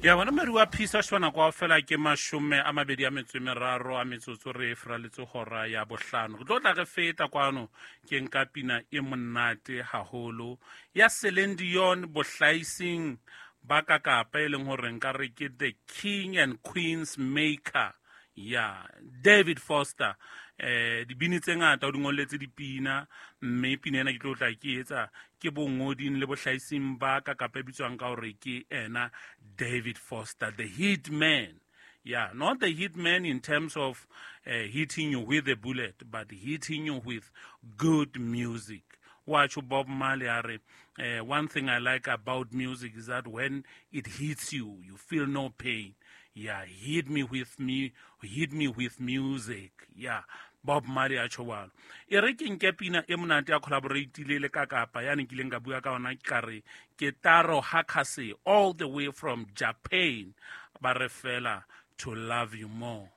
Ya bona maru a phisa shona kwa fela ke 23 a metsotso re fraletse hora ya bohlano. Re tlo tla re feta kwano ke nka pina e monate haholo ya Celine Dion bohlaising ba ka Kapa, e leng hore nka re ke the king and queen's maker ya David Foster. Dibini tse ngata o di ngolletse dipina, mme pina ena ke tlo tla ke etsa ke bongoding le bohlaising ba ka Kapa e bitswang ka hore ke ena David Foster, the hit man. Yeah, not the hit man in terms of hitting you with a bullet, but hitting you with good music. Watch Bob Marley a re, one thing I like about music is that when it hits you, you feel no pain. Yeah, hit me with me, hit me with music. Yeah, Bob Marley a tjho jwalo. E re ke nke pina e monate ya collaborate-ile le ka Kapa, yane kileng ka bua ka ona, ka re ke Taro Hakase all the way from Japan. Ba re fela to love you more.